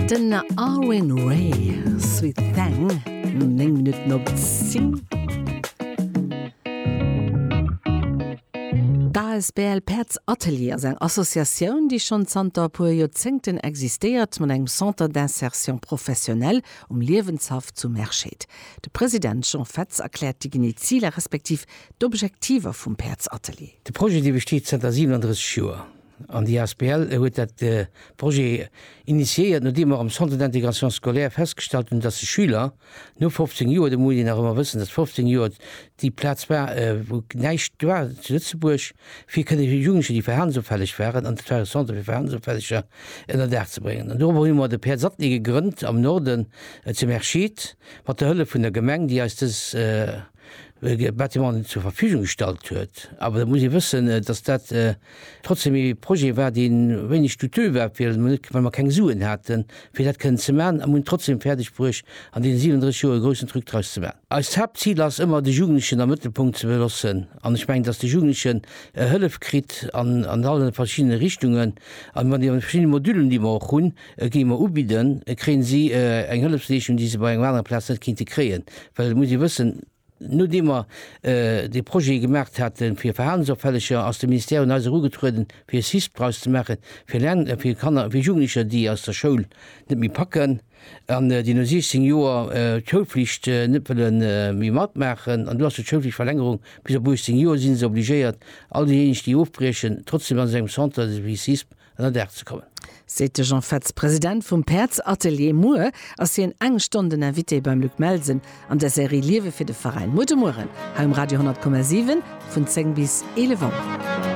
Den Arwin Ray, Sweet Thang, 9 Minutten op 10. D'ASBL Päerdsatelier ass eng Associatioun, déi schonn zanter e puer Joerzéngten existéiert, mat engem Centre d'insertion professionnelle um Liewenshaff zu Merscheed. De President Jean Fetz erkläert déi genee Ziler respektiv d'Objektiver vum Päerdsatelier. De Projet, dee besteet zanter 37 Joer. An déi asbl huet dat Projet initiéiert, nodeem mer am Centre d'intégration scolaire festgestallt hunn, dass de Schüler no 15 Joer, do muss een nach ëmmer wëssen, dass 15 Joer déi Plaz war, wou näischt war zu Lëtzebuerg, fir kënne Jugendlecher, déi verhalensopfälleg waren, an dat war e Centre fir Verhalensopfälleger, ënner Daach ze bréngen. An dorobber hu mer de Päerdsatelier gegrënnt am Norden zu Merscheed, mat der Hëllef vun der Gemeng, déi eis dës Bâtimenten zur Verfügung gestallt huet. Awer et muss ee wëssen, dass dat trotzdem ee Projet war, dee wéineg douteux war, well mer net, well mer keng Suen haten, fir dat kënnen ze maachen, a mer hunn et trotzdem fäerdeg bruecht, an deene 37 Joer e groussen Truc draus ze maachen. Eist Haaptzil ass ëmmer, de Jugendlechen am Mëttelpunkt ze beloossen. An ech mengen, dass de Jugendlechen Hëllef kritt an allen verschiddene Richtungen a mat deene verschiddene Modulen, déi mer och hunn, déi mer ubidden, kréien si eng Hëllefsleeschung, déi se bei engem anere Plaz net kéinte kréien. Well et muss ee wëssen, nodeem mer dee Projet gemaacht hate fir Verhalensopfälleger, ass de Ministère un eis erugetrueden, fir e CISP draus ze maachen, fir Lern, fir Kanner, fir Jugendlecher, déi aus der Schoul net méi packen an déi no 16 Joer d'Schoulflicht net wëlle méi matmaachen. An do ass jo d'Schoulflichtverlängerung bis op 18 Joer, si se obligéiert, all déijéineg, déi ofbriechen, trotzdem an esou engem Centre wéi CISP ënner Daach ze kommen. Seet de Jean Fetz, President vum Päerdsatelier. Muer ass hien eng Stonn den Invité beim Luc Melsen an der Serie Liewe fir de Veräin. Muer de Mueren hei um Radio 10,7 vun 10 bis 11 Auer.